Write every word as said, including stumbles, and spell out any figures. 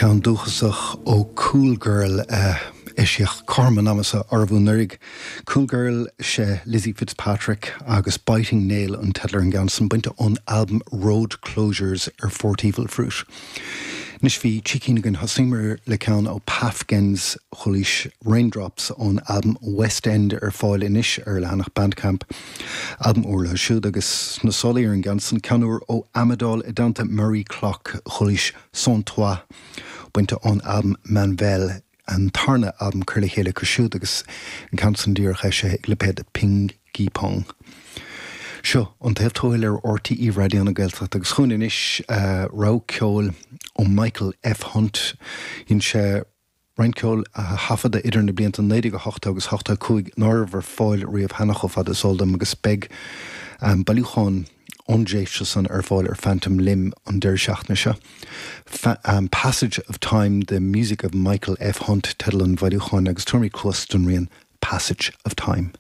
Ceann dúchasach ó Cool Girl uh, eisíodh cothrom an ama seo anuraidh. Cool Girl sé Lizzie Fitzpatrick agus Biting Nail an teideal ar an gceann san bainte ón album Road Closures ar Fort Evil Fruit. Anois bhí trí cinn againn thosaíomar le ceann ó Pafgens chualaís Raindrops ón album West End ar fáil anois ar leathanach Bandcamp. Album úr leo siúd agus na solaí ar an gceann san ceann úr ó Amadol i dteannta Murray Clock chualaís Sans Toi bainte ón album Manvel an tarna album cur le chéile acu siúd agus an ceann san díreach eisithe ag lipéad Ping Gi Pong. Seo an taobh tuathail ar RTÉ Raidió na Gaeltachta agus chugainn anois uh, rogha ceoil ó Michael F. Hunt dhein sé roinnt ceoil a thaifeadadh idir na blianta naoi déag a hocht agus ochtó cúig nach raibh ar fáil riamh cheana chomh fada is eol dom agus beidh um, bailiúchán ón dtréimhse san ar fáil ar Phantom Limb an deireadh seachtaine seo. Fa um, Passage of Time, the music of Michael F. Hunt teideal an bhailiúcháin agus tabharfaimid cluas don rian Passage of Time.